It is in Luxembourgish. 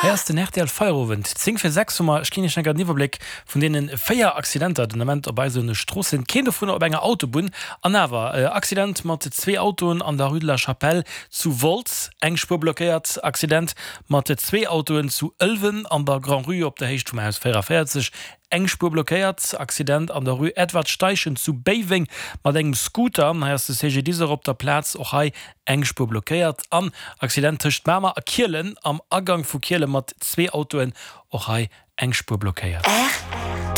Hei ass den rtl Feierowend, 10 vir 6 hu mer. Ech ginn Iech enker den Iwwerbléck vun deene 4 Accidenter den Ament op eise Stroossen. Keen dovunner op enger Autobunn. An awer, Accident mat zwee Autoen an der Rue de la Chapelle zu Wolz, eng Spuer blockéiert. Accident mat zwee Autoen zu Ëlwen an der Grand-Rue op der Héicht vum Haus 44, Eng Spuer blockéiert. Accident an der Rue Edward Steichen zu Béiweng mat engem Scooter. Hei ass de CGDIS och op der Plaz. Och hei eng Spuer blockéiert. An Accident tëscht Mamer a Kielen am Agang vu Kiele mat zwee Autoen. Och hei eng Spuer blockéiert.